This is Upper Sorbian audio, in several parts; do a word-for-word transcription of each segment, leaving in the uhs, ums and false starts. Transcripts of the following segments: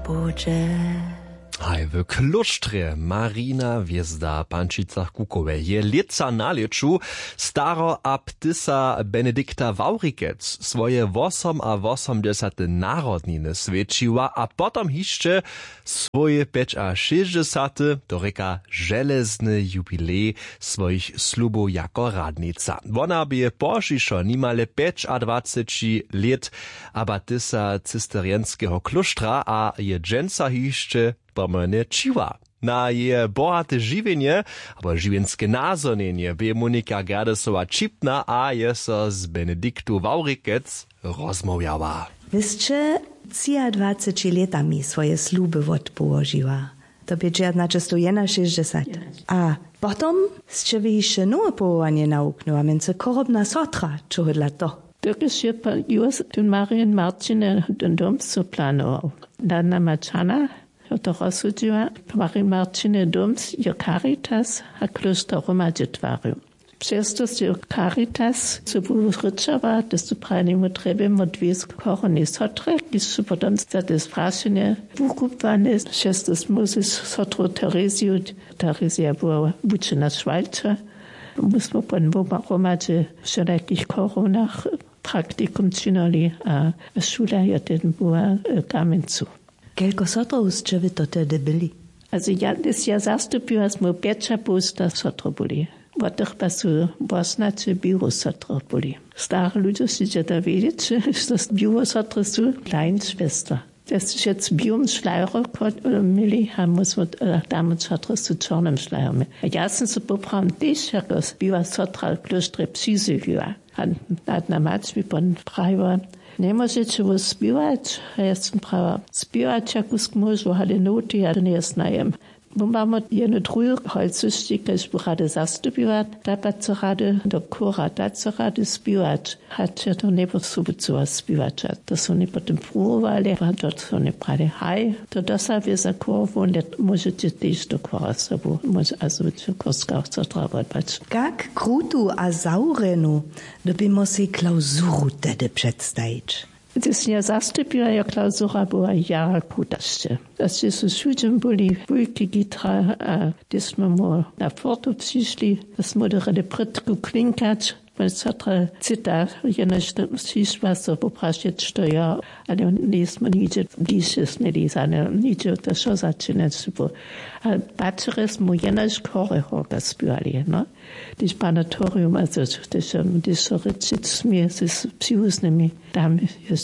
budźe. Haj w klóštrje Marina Hwězda w Pančicach Kukowej je lětsa na lěću staro abtysa Benedikta Wawrikec swoje wosomawosomdźesate narodniny swjećiła a potom hišće swój pjećašěsćdźesaty, to rěka železny jubilej swojich slubow jako radnica. Wona bě pozdźišo nimale pjećadwaceći lět abatysa cisterjenskeho klóštra a je dźensa hišće pomojnje ćiła. Na jeje bohate žiwjenje abo žiwjenske nazhonjenje bě Monika Gerdesowa ćipna a je so z Benediktu Wawrikec rozmołwjała. Wy sće třiadwaceći lětami swoje sluby wotpołožiła. To bě dźejaćnaćestowjenašěsćdźesat. A potom sće wy hišće nowe powołanje nawuknyła, mjency chorobna sotra, čehodla to? Dokelž je pan Juas tón Marjen Marćinje dom so planował. Nad nama čana jo to rozsudźiła, Marjen Marćinje dom jo Caritas a klóšter hromadźe twarił. Přez to sće Caritas so wurěčała, to su prajenemu trjebjemo dwě choronej sotre, kiž su potom za te sprašenje wukubłane, přez to móžeš sotru Tereziju, Terezija była wučena šwalča. My smo potom wobaj hromadźe w wšelakich chorownach praktikum činili a šula je ten była w Kamjencu. Kelko sotrow sće wy to tehdy byli? Also ja, ja zastupiła, smo pjećapołsta sotry byli. Wot tych pa su wosnaće białe sotry byli. Stare ludźe sće da wědźeć, što białe sotry su Kleinschwester. To je wšec w białym šlajru měli a my smo, e, damy sotry su w čornym šlajru měli. A ja sam so poprawom tež jako biała sotra w klóštrje přizjewiła. A nadna mać mi pon prajiła: „Njemóžeće wój spěwać?“ A ja sym prajiła: „Spěwać ja kusk móžu, ale noty ja to njeznajem.“ Wón bamot jedne druhe holcyšće, kaž bu rady zastupiła, ta pa chce rady do chóra, ta chce rady spěwać, hač ja to njeposobucyła spěwać. A to su woni potom pruwowali a to su woni prali: „Haj, to dosa wě za chór, wón je, móžeće tež do chóra sobu, móže, a su chórska sotra wotbać.“ Kak krutu a zawrjenu, dyrbi móhł sej klauzuru tehdy předstajić. Hdyž sym ja zastupiła, jo, klauzura była jara kruta sće. A sće su wšudźe byli wulki gitra a hdyž smy mu na fortu přišli, da smy dyrjeli prědku klinkać, wón sotra cyta, jenož přišła so poprašeć, što jo, ale njejsmy nihdźe bliže směli za nje, nihdźe to wšo začinać su. A pačerje smy jenož chóre chórka spěwali, no. Hdyž panatorium, also, hdyž, hdyž so rěčić smě z přiwuznymi, tam je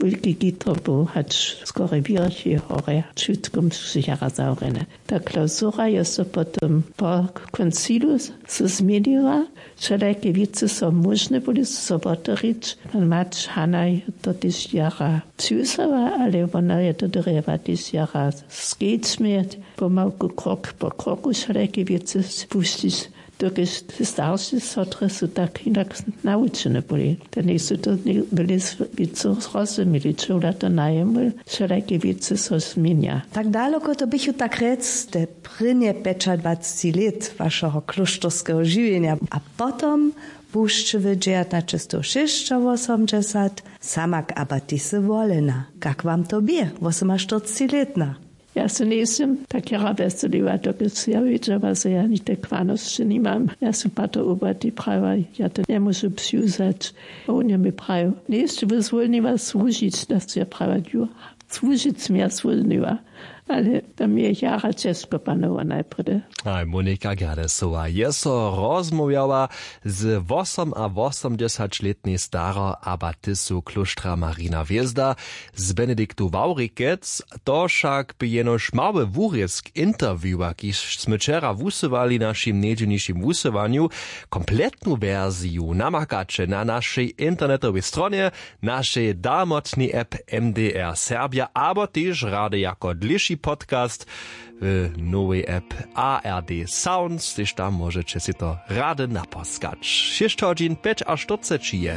wulki gitro był, hač skóre wěrchi hórje, wšitko su jara zawrjene. Ta klauzura je so potom po koncilu so změniła, wšelake wěcy so móžne byli so woterić. Pan Mać Hanaj to tež jara přiwzała, ale wona je to dyrjała tež jara skedź měć, pomałku, krok po kroku wšelake wěcy spušćić. Dokelž te starše sotry su tak hinak nawučene byli, te njejsu to byli wěcy zrozumili, čehodla to najemu wšelake wěcy so změnja. Tak daloko to běchu tak rjec te prěnje pjećadwaceći lět wašeho klóšterskeho žiwjenja a potom bušće wy dźejaćnaćestowšěsćawosomdźesat samak abatisy wolena. Kak wam to bě, wosomaštyrcećilětna? Ja se njejsym tak jara wjeseliła, dokelž ja wědźała, zo ja nikajke kwanosće nimam. Ja sym pa to ubati prajiła, ja to njemóžu přiwzać. A wón je mi prajił: „Njejsće wój zwólniła słužić?“ Da sym ja prajiła: „Jo, słužić sym ja zwólniła.“ Ale to mi je jara ćežko panowało najprjedy. A Monika Gerdesowa je so rozmołwjała z wosomawosomdźesaćlětnej staro abatisu klóštra Marina Hwězda z Benediktu Wawrikec. To wšak bě jenož mały wurězk interviewa, kiž smy wčera wusyłali w našim njedźelnišim wusyłanju. Kompletnu wersiju namakaće na našej internetowej stronje, našej dalmotnej app M D R Serbja abo tež rady jako dlěši podcast w nowej app A R D Sounds, tež tam móžeće sej to rady napóskać. Šěsć hodźin pjećaštyrceći je.